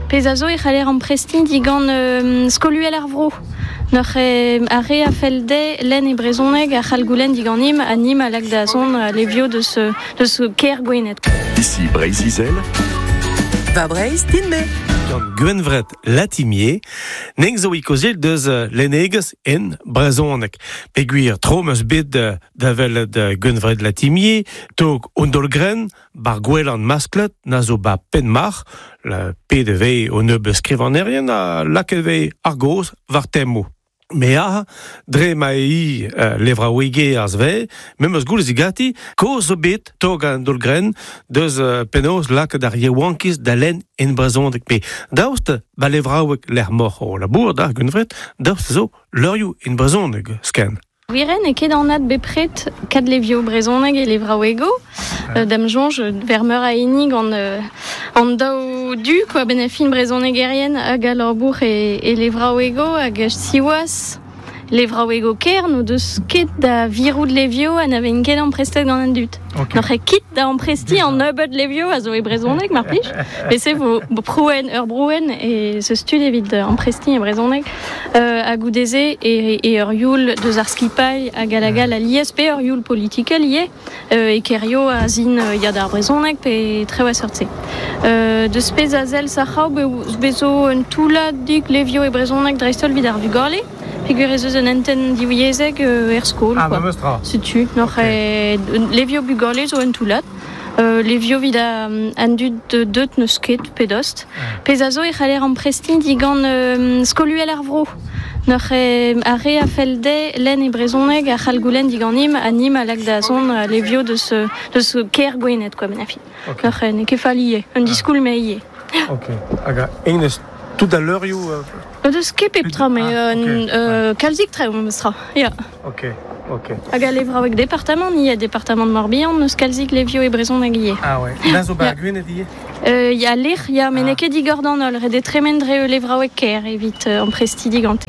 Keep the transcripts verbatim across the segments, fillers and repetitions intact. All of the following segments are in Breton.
Pez a zo e c'haller amprestiñ digant euh, skoluel ar vro. Noc'h e ar re a fell dezhe lenn e brezhoneg a c'hall goulenn diganim ha nim a lak da zont a levioù deus, deus kêr Gwened. Ici Breizh-Izel. Va Breizh, din-me. Gant Gwenvred Latimier, neng zo ikozel deus lennegez en brezhoneg. Peogwir tro 'm eus bet da welet Gwenvred Latimier, tog an Dolgren, bar gwelan masklet, na zo ba Penmarc'h, la P D V o nebeud skrivanerien a lakaet vez ar gaoz war temmoù. Me a, dre ma e uh, levraouege ar sve, me meus goulez gati, koz zo bet tog an Dolgren deus uh, penaos lakaet ar yaouankiz da lenn en brezhoneg. Pe daoust ba levraoueg lec'h moc'h o labour da Gwenvred, daoust zo leurioù en brezhoneg sken. Wiren e ket anat bepred kad levioù brezhoneg e levraouego. Euh, dam soñj ver meur a hini gant euh, an daou du quoi ben a fin brezhonegerien hag a labour e, e levraouego hag siwazh levraouego ker no deus ket da virout levioù ha na ven ket amprestet gant an dud. Okay. Noc'h e kit da ampresti an nebeud levioù a zo e brezhoneg mar plij. Met se vo prouen ur brouen e se stud evit ampresti e brezhoneg. Euh, hag goudeze e, e ur youl deus ar skipailh hag a la gal a lies pe ur youl politikel ie euh, e kerio a zin euh, ya d'ar brezhoneg pe trev a seurt-se. Euh, deus pezh a sell sac'haou be, bezo un toullad levioù e brezhoneg dreist-holl evit ar vugale. Peogwir ez eus un hentenn divyezhek euh, er skol. Ah, quoi. memes tra. Setu, noc'h Okay. e levioù bugale zo un toullad. Euh, levioù evit an dud deut n'eus ket pedost. Ah. Pezh a zo e c'haller amprestiñ digant euh, skoluel ar vro. Noc'h e ar re a fell dezhe lenn e brezhoneg a c'hall goulenn diganim ha nim a lak da zont a levioù deus, deus kêr Gwened, quoi, ben a fin. Ok. Noc'h e n'eo ket fall ivez, un Ah. diskoulm eo ivez. Ok. Hag a enez tout à l'heure ioù euh... No deus ket pep tra, mais Ah, euh, ok, euh, kalzik tre memes tra. Ya. Ok, ok. Hag a levraoueg departamant, ni a departamant Morbihan, neus kalzik levioù e brezhoneg ivez. Ah ouais. Na zo ba Ya. Gwened ivez? Euh, ya lec'h, ya, met Ah. n'eo ket digor d'an holl, ret eo tremen dre levraoueg kêr evit euh, amprestiñ digante.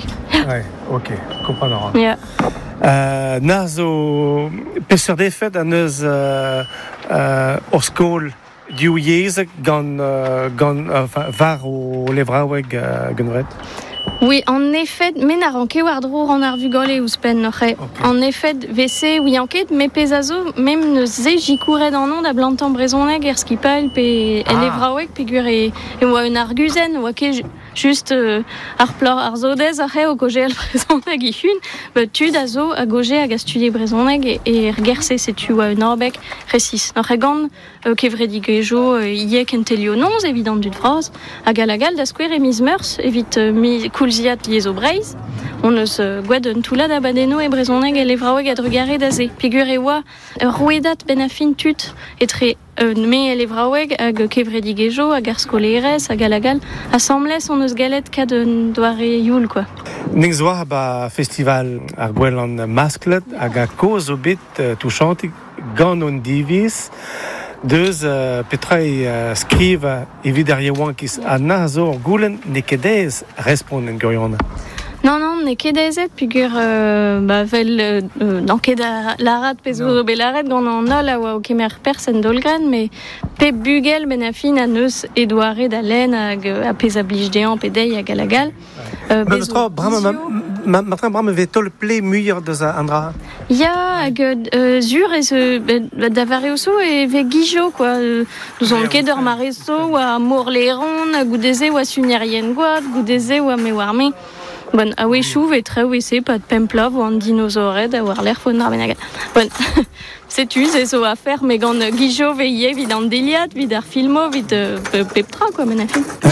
Ouais, ok, kompren a ran. Ya. Euh, na zo peseurt efed an eus euh, euh, ur skol div yezh gant, euh, gant, euh, enfin, war o levraoueg euh, Gwenvred? Oui, en effet, me na ran ket war-dro ran ar vugale ouzhpenn noc'h eo. Ok. En effet, vese oui enquête, me pezh a zo, mem neus se jikouret an an da blantañ brezhoneg er skipailh pe Ah. el levraoueg peogwir e, e oa un arguzenn, oa ket ju-, just euh, ar plor ar zodez ar eo goje al brezhoneg ihun, ba tud a zo a goje hag a studie brezhoneg e, e er gerse setu oa un orbeg resis. Noc'h eo gant, euh, kevredigezhioù, euh, ie kentelioù noz evit an dud vras, hag a la gal da skouer e miz Meurzh evit, euh, mi koulziad liezo Breizh. On eus euh, gwad un toullad abadennoù e brezhoneg e levraoueg a drugare da se. Peogwir e oa ur rouedad ben a fin tud etre euh, me e levraoueg hag kevredigezhioù hag ar skolerez hag a la gal. Asambles on eus galet kad un doare youl, quoi. Ning zo war ba festival ar gwelan masklet hag a koz zo bet euh, touchantik gant an diviz deus euh, petra e euh, skriv evit ar yaouankiz ha na zo ur goulenn n'eo ket aes respont en gwirionez. Non, non, n'eo ket aezet peogwir euh, ba, vel, euh, euh, n'an ket a larat pezh zo bet laret gant an holl a oa o kemer perzh en Dolgren, met pep bugel ben a fin a neus e doare da lenn hag, euh, a pezh a blij dezhañ pe dezhi hag a la gal. Euh, Ma bez zo tra, bremañ, ma, vizio. ma, ma tra, bremañ vez taol ple muioc'h deus an dra. Ya, hag, euh, zur ez, euh, ben, da vare oso e vez gijo, quoi. Euh, nous on ket ur mare zo, oa morleron, goudeze oa sunerien gwad, goudeze oa me war me. Bon, a wechoù ve traoù e se, pat pemplav oa an dinosaored a war lec'h fon ar bennak. Bon, setu, se zo a fer, me gant gijo ve ie evit an deliat, evit ar filmo, evit, euh, pep tra, quoi, men a fin.